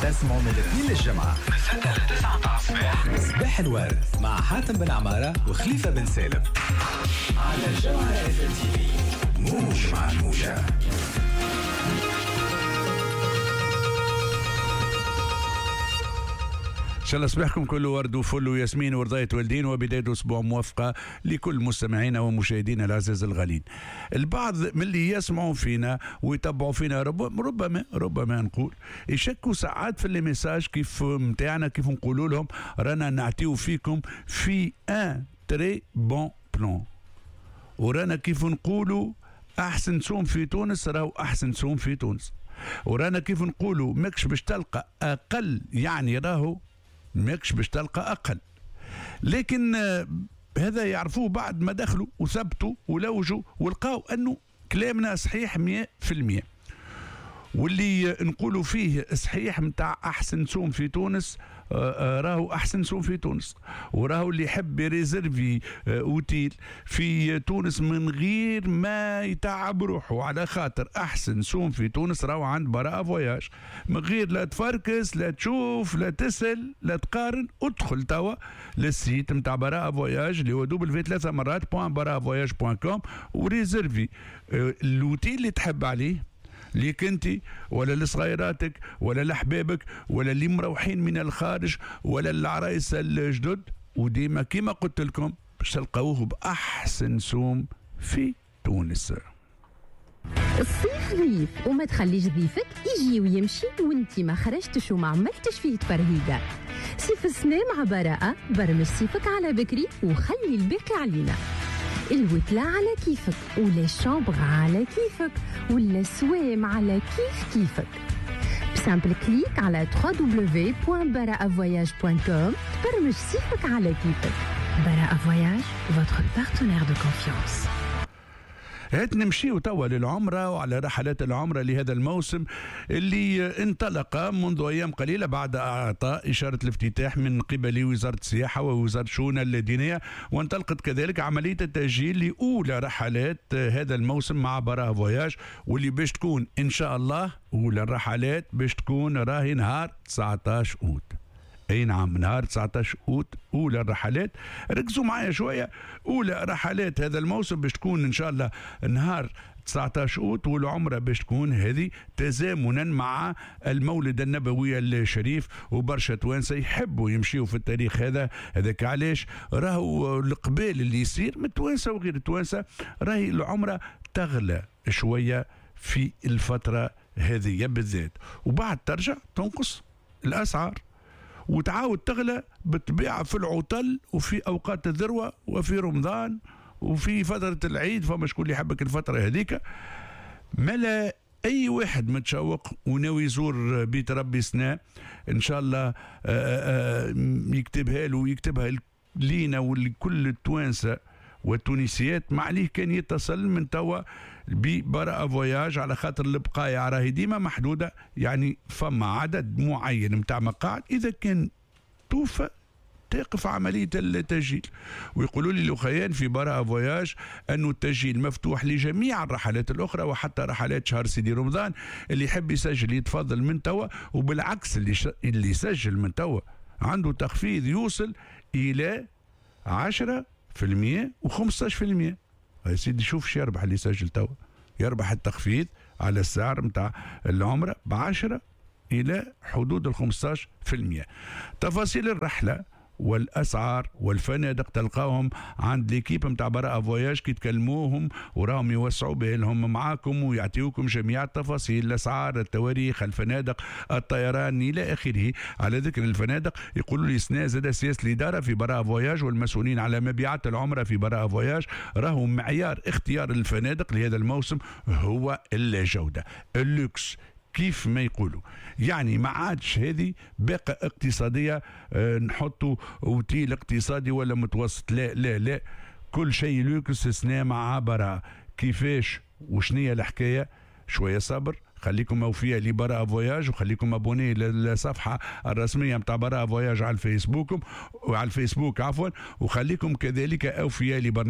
تسمعوا من الاثنين للجمعة من 6 ل 9 متاع الصباح. صباح الورد مع حاتم بن عمارة وخليفة بن سالم على الجوهرة اف ام تي في، موج مع الموجة. ان شاء الله صباحكم كله ورد وفل وياسمين ورضاية والدين، وبداية اسبوع موفقة لكل مستمعينا ومشاهدينا العزاز الغالين. البعض من اللي يسمعوا فينا ويتبعوا فينا ربما نقول يشكوا ساعات في les messages كيف نتاعنا، كيف نقولوا لهم رانا نعطيو فيكم في un très bon plan، ورانا كيف نقولوا احسن سوم في تونس راهو احسن سوم في تونس، ورانا كيف نقولوا ماكش باش تلقى اقل، يعني راهو ماكش باش تلقى اقل. لكن هذا يعرفوه بعد ما دخلوا وثبتوا ولوجوا ولقاو انه كلامنا صحيح 100%، واللي نقولوا فيه صحيح متاع احسن سوم في تونس راهو احسن سوم في تونس، وراهو اللي يحب يريزرفي اوتيل في تونس من غير ما يتعب روحه، على خاطر احسن سوم في تونس راهو عند براءة فواياج، من غير لا تفركس لا تشوف لا تسأل لا تقارن. ادخل توا لل site نتاع براءة فواياج اللي هو double v 3 مرات point براءة فواياج point com وريزرفي l'hôtel اللي تحب عليه، ليك انت ولا لصغيراتك ولا لحبابك ولا اللي مروحين من الخارج ولا العرايس الجدد، وديما كيما قلت لكم باش تلقاوه باحسن سوم في تونس. الصيف ضيف وما تخليش ضيفك يجي ويمشي وانت ما خرجتش وما عملتش فيه تفرهيده. صيف السنة مع براءة، برمج صيفك على بكري وخلي الباقي علينا. الوتلة على كيفك ولا ال chambre على كيفك ولا السوام على كيف كيفك. ب simple clic على www.baraavoyage.com تبرمج صيفك على كيفك. براءة فواياج، votre partenaire de confiance. هات نمشيو توا للعمرة وعلى رحلات العمرة لهذا الموسم اللي انطلق منذ أيام قليلة بعد إعطاء إشارة الافتتاح من قبل وزارة السياحة ووزارة الشؤون الدينية، وانطلقت كذلك عملية التسجيل لأولى رحلات هذا الموسم مع براءة فواياج، واللي باش تكون إن شاء الله أولى الرحلات باش تكون راهي نهار 19 أوت. اي نعم، نهار 19 اوت اولى الرحلات. ركزوا معايا شوية، اولى رحلات هذا الموسم باش تكون ان شاء الله نهار 19 اوت، والعمرة باش تكون هذه تزامنا مع المولد النبوي الشريف، وبرشا توانسة يحبوا يمشيوا في التاريخ هذا. هذاك علاش راهو القبال اللي يصير من التوانسة وغير التوانسة، راهي العمرة تغلى شوية في الفترة هذه بالذات، وبعد ترجع تنقص الاسعار وتعاود تغلى بالطبيعة في العطل وفي أوقات الذروة وفي رمضان وفي فترة العيد، فما شكون اللي يحبك الفترة هذيك. ملا أي واحد متشوق وناوي يزور بيت ربي سنة إن شاء الله يكتبها له ويكتبها لينا ولكل التوانسة والتونسيات، ما عليه كان يتصل من توا ببراءة فواياج، على خاطر البقايا راهي ديما محدودة، يعني فما عدد معين متاع مقاعد، إذا كان توفى تقف عملية التسجيل. ويقولوا لي الأخيان في براءة فواياج أنه التسجيل مفتوح لجميع الرحلات الأخرى وحتى رحلات شهر سيدي رمضان، اللي يحب يسجل يتفضل من توا، وبالعكس اللي يسجل من توا عنده تخفيض يوصل إلى 10% و15%. يا سيدي شوف شو يربح اللي يسجل توا، يربح التخفيض على السعر نتاع العمرة ب10 إلى حدود 15%. تفاصيل الرحلة والأسعار والفنادق تلقاهم عند l'équipe نتاع براءة فواياج، كي تكلموهم وراهم يوسعوا بالهم معاكم ويعطيوكم جميع التفاصيل، الأسعار، التواريخ، الفنادق، الطيران إلى آخره. على ذكر الفنادق يقولوا لي سنة زاد سياسة الإدارة في براءة فواياج والمسؤولين على مبيعات العمرة في براءة فواياج، راهو معيار اختيار الفنادق لهذا الموسم هو الجودة، اللوكس كيف ما يقولوا، يعني ما عادش هذه باقة اقتصادية نحطوا اوتيل اقتصادي ولا متوسط، لا لا لا، كل شيء لوكس سنة مع براءة. كيفاش وشنية الحكاية؟ شوية صبر، خليكم اوفياء لبراءة فواياج، وخليكم abonnés للصفحة الرسمية نتاع براءة فواياج على الفيسبوك وعلى الفيسبوك عفوا، وخليكم كذلك اوفياء لبرنامج